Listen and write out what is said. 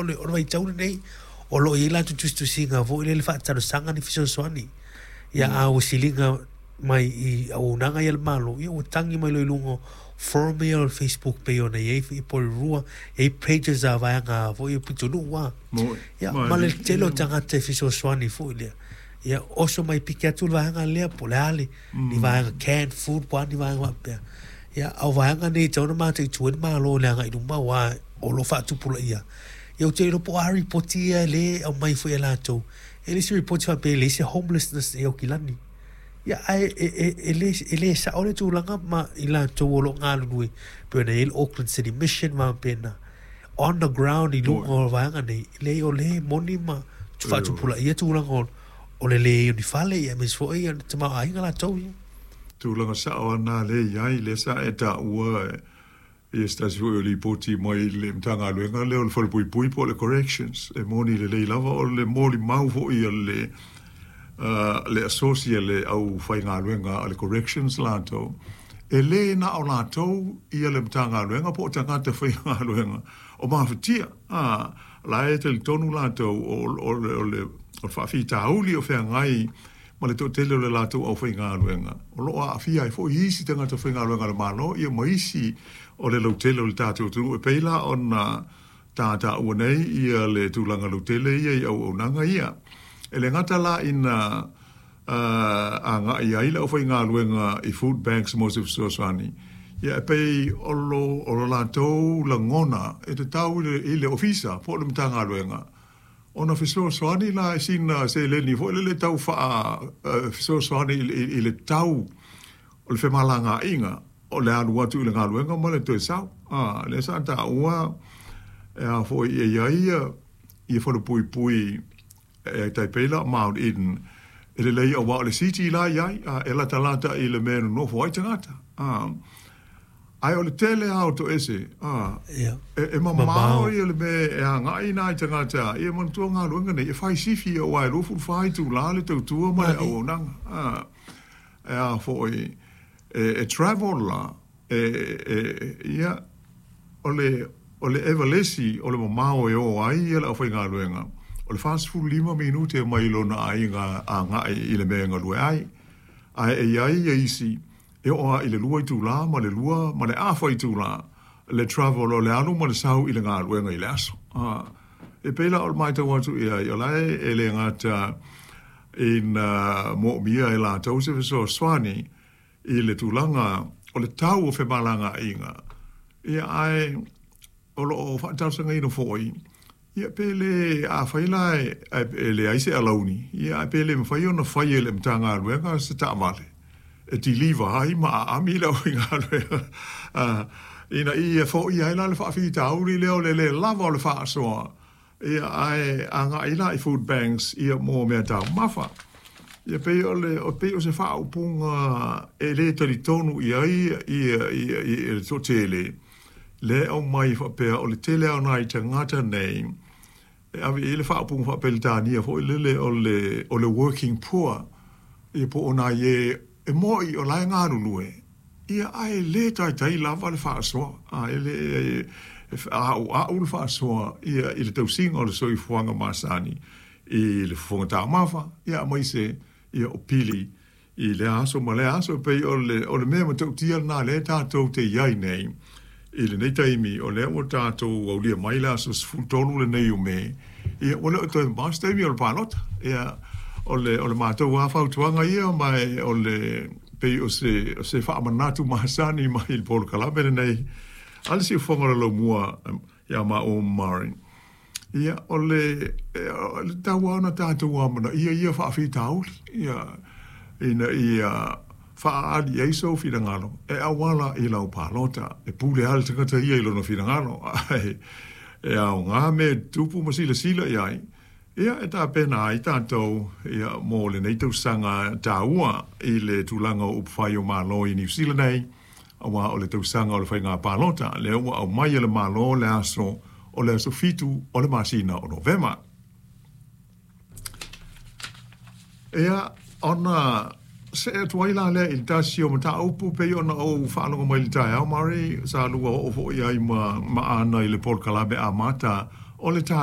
ona o le vaitau lenei o lo o i ai latou tusitusiga foi lele faatalosaga ni fesoasoani. Ia a ua siliga mai i auaunaga ia a le Malo, ia ua tagi mai loa i luga o forum ia o le Facebook pei ona i ai i Porirua, e i ai pages a vaega foi ia pitonuu a. Ia ma le tele o tagata e fesoasoani foi lea. Ia oso mai piki atu le vaega lea po o le a le ni vaega canned food po o a ni vaega faapea. Ia a o vaega nei e tatau ona mataitu ai le Malo i le agai i luma aua o lo o faatupulaia. Ia ou te le iloa po o a lipoti ia lea e aumai foi e latou. E le o se lipoti faapea e leai se homelessness i Aukilani. Ia ae e le sao le tulaga ma i latou o lo o galulue pei ona i ai le Auckland City Mission ma faapena on the ground i luga o vaega nei, leai o lea e moni ma faatupulaia tulaga o le leai o ni fale aemaise foi o le tamaoaiga latou ia. Tulaga sao lava lena lea e i ai, lea sa e taua Ia se tasi foi o lipoti mai le Matagaluega lea o le Falepuipui po o le Corrections, e moni lelei lava o le molimau foi a le le asosi a le aufaigaluega a le Corrections latou, e le na o latou ia le Matagaluega po o tagata faigaluega o mafatia, a, la e talitonu latou o le faafitauli o feagai ma le toatele o le latou aufaigaluega, o lo o aafia ai foi isi tagata faigaluega a le Malo ia ma isi o le lautele o le tatou atunuu. E pei la ona ta taua nei ia le tulaga lautele ia i auaunaga ia. E le gata la ina agai ai le aufaigaluega i food banks mo se fesoasoani, ia e pei o lo latou lagona e tatau i le Ofisa po o le Matagaluega Ona fesoasoani la i sina seleni foi lele tau faa fesoasoani i le tau o le femalagaaiga o le alu atu i le galuega ma le toe sau. A, lea sa taua e a foi e i ai ia falepuipui e tai pei la o Mount Eden e lelei aua o le city la e i ai, a, e latalata i le mea e nonofo ai tagata. A, Ae o le tele lava o toese, a, e mamao ia le mea e agai nai tagata, ia manatua galuega nei, e fai sifi aua e 24 itula le tautua ma le auaunaga, a, e a foi, e travel la, e, ia, o le, o le Evalesi o le mamao e o ai ia le aufaigaluega, o le 45 minute mai lona aiga agai i le mea e galue ai, ae e i ai ia isi E oo lava i le lua itula ma le lua ma le afa itula le travel o le alu ma le sau i le galuega i le aso. E pei la o le matau atu i ai, o la e le gata ina moomia e latou se fesoasoani i le tulaga o le tau o femalagaaiga, ia ae o lo o faatalosagaina foi Ia pe le, afai la e leai se alauni, ia ae pe le mafai ona fai e le Matagaluega se taavale e deliver ai ma aami le aufaigaluega ina ia foia ai la le faafitauli lea o le le lava o le faasoa, ia ae agai la i food banks ia mo meataumafa. Ia pei o le, pei o se faaupuga e le talitonu i ai ia le toatele, lea e aumai faapea o le tele lava o nai tagata nei e ave i ai le faaupuga faa-Peretania foi lele o le, o le working poor, ia po o nai e e moni o la e galulue, ia ae le taitai lava le faasoa, a e le e a'ua'u le faasoa ia i le tausiga o le soifuaga masani i le fofoga taumafa, ia aemaise ia o pili I lea aso ma lea aso, e pei o le, o le mea matautia lena lea tatou te i ai nei i lenei taimi, o lea ua tatou aulia mai le aso 13 lenei o Me, ia ua le o toe mamao se taimi o le palota. Ia, o le, o le matou lava fautuaga ia, ma e o le, pei o se, o se faamanatu masani mai i le polokalame lenei a le Siufofoga o le Laumua ia maua ma Murray. Ia, o le, e tatau lava ona tatou amanaia ia faafitauli, ia, ina ia faaali ai sou finagalo e auala i lau palota. E pule lava le tagata ia i lona finagalo, ae e aoga mea e tutupu ma silasila i ai, ia, e tapena ai tatou, ia, mo lenei tausaga taua i le tulaga o upufai o Malo i Niu Sila nei. aua o le tausaga o le faiga palota lea ua aumai e le Malo le aso o le aso 7 o le masina o Novema. Ia, ona see atu ai la lea i le tasi o mataupu pei ona ou faalogo mai i le taeao, Murray, sa lua oo foi i ai ma Aana i le polokalame amata o le taeao.